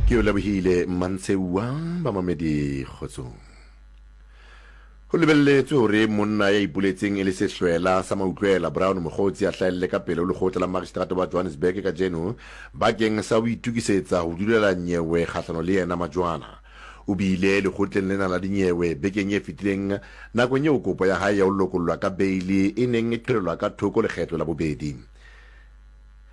Ke o lebohile Mmantsheua bamamedi kgotsong. Ho lebelletswe hore monna ya ipoletseng e le sehlwela sa mautlwela Brown Mogotsi a hlahelle ka pele ho lekgotla la magistrata wa Johannesburg kajeno bakeng sa ho itokisetsa ho dulela nyewe kgahlano le yena majwana. O bile lekgotleng lena la dinyewe bekeng e fetileng nakong eo kopo ya hae ya ho lokollwa ka beili e neng e qhelelwa ka thoko lekgetlo la bobedi.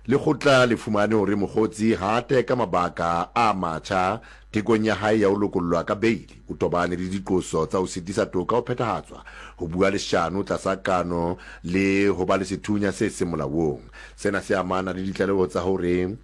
Lekgotla le fumane hore Mogotsi ha a teka mabaka a matjha tekong ya hae ya ho lokollwa ka beili. O tobane le diqoso tsa ho sitisa toka ho phethahatswa, ho bua leshano tlasa kano le ho ba le sethunya se seng molaong. Sena se amana le ditlaleho tsa hore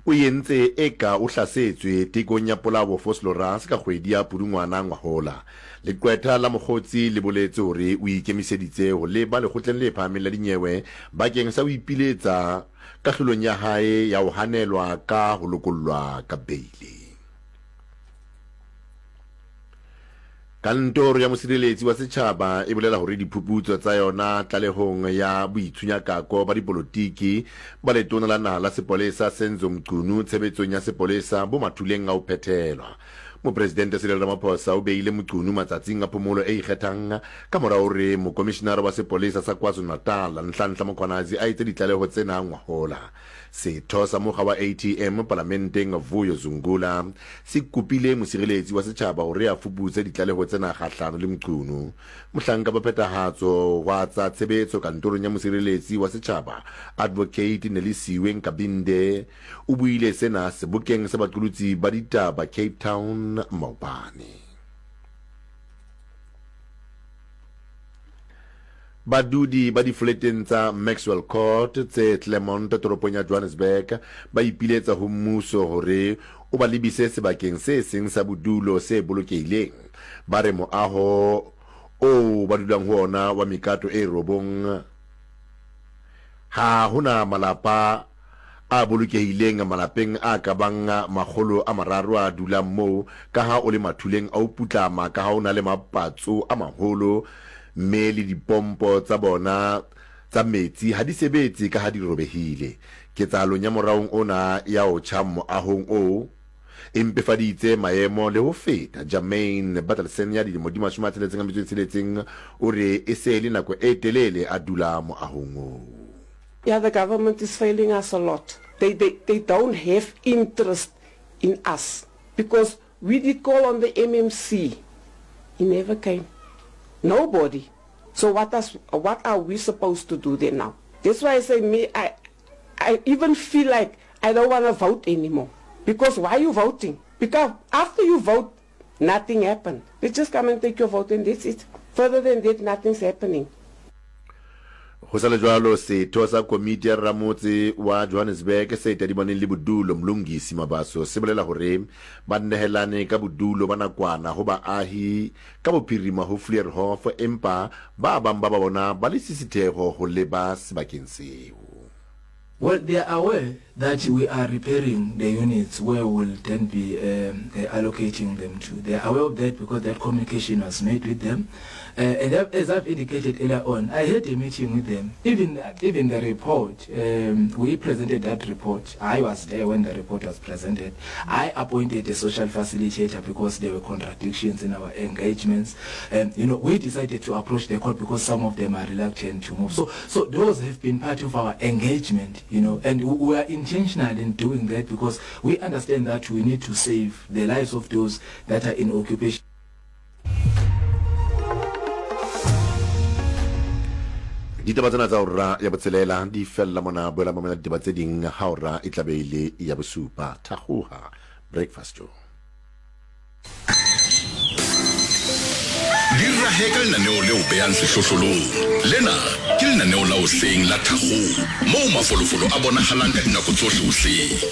o entse eka o hlasetswe tekong ya polao Vosloorus ka kgwedi ya Pudungwana ngwahola. Leqwetha la Mokgotsi le boletse hore o ikemiseditse ho leba lekgotleng le phahameng la dinyewe bakeng sa ho ipiletsa kahlolong ya hae ya ho hanelwa ka ho lokollwa ka beili. Kantoro ya Mosireletsi wa Setjhaba e bolela hore diphuputso tsa yona tlalehong ya boitshunyakako ba dipolotiki ba Letona la Naha la Sepolesa Senzo Mchunu tshebetsong ya sepolesa bo mathuleng a ho phethelwa. Mopresidente Cyril Ramaphosa o beile Mchunu matsatsing a phomolo e ikgethang ka mora hore Mokomishinara wa Sepolesa sa KwaZulu-Natal Nhlanhla Mkhwanazi a etse ditlaleho tsena ngwahola. Setho sa mokga wa ATM palamenteng Vuyo Zungula se kopile mosireletsi wa setjhaba hore a fuputse ditlaleho tsena kgahlano le Mchunu. Mohlanka ba phethahatso wa tsa tshebetso kantorong ya mosireletsi wa setjhaba Advocate Nelisiwe Nkabinde o buile sena sebokeng sa baqolotsi ba ditaba Cape Town maobane. Badudi ba difoleteng tsa Maxwell Court tse Claremont toropong ya Johannesburg ba ipiletsa ho mmuso hore o ba lebise sebakeng se seng sa bodulo se bolokehileng. Ba re moaho oo ba dulang ho ona wa mekato e robong ha ho na malapa a bolokehileng malapeng a ka bang 300 a dulang moo ka ha o le mathuleng a ho putlama ka ha o na le mapatso a maholo mme le dipompo tsa bona tsa metsi ha di sebetse ka ha di robehile. Ketsahalong ya moraong ona ya ho tjha moahong oo e mpefaditse maemo le ho feta. Jermaine Bertelsen ya dilemo di 66 o re e se e le nako e telele a dula moahong oo. Yeah the government is failing us a lot they they they don't have interest in us because we did call on the MMC he never came nobody so what us what are we supposed to do then now that's why I say me I I even feel like I don't wanna vote anymore because why you voting because after you vote nothing happened they just come and take your vote and that's it further than that nothing's happening. Ho sa le jwalo, setho sa komiti ya ramotse wa Johannesburg se tadimaneng le bodulo, Mlungisi Mabaso, se bolela hore ba nehelane ka bodulo ba nakwana ho baahi ka bophirima ho Fleurhof empa ba bang ba ba bona ba le sisitheho ho leba sebakeng seo. Well, they are aware that we are repairing the units where we will then be um, uh, allocating them to. They are aware of that because that communication was made with them. Uh, and as I've indicated earlier on, I had a meeting with them. Even, even the report, um, we presented that report. I was there when the report was presented. I appointed a social facilitator because there were contradictions in our engagements. And, you know, we decided to approach the court because some of them are reluctant to move. So, so those have been part of our engagement, you know, and we are intentional in doing that because we understand that we need to save the lives of those that are in occupation. Ditaba tsena tsa ora ya botshelela di fella mona. Boela mamela ditaba tse ding ha ora e tlabe e le ya bosupa. Thakgoha Breakfast Show. Di rahe ka lenaneo leo beyang sehlohlolong. Lena ke lenaneo la hoseng la Thakgoha moo mafolofolo a bonagalang ka dinako tsohle hoseng.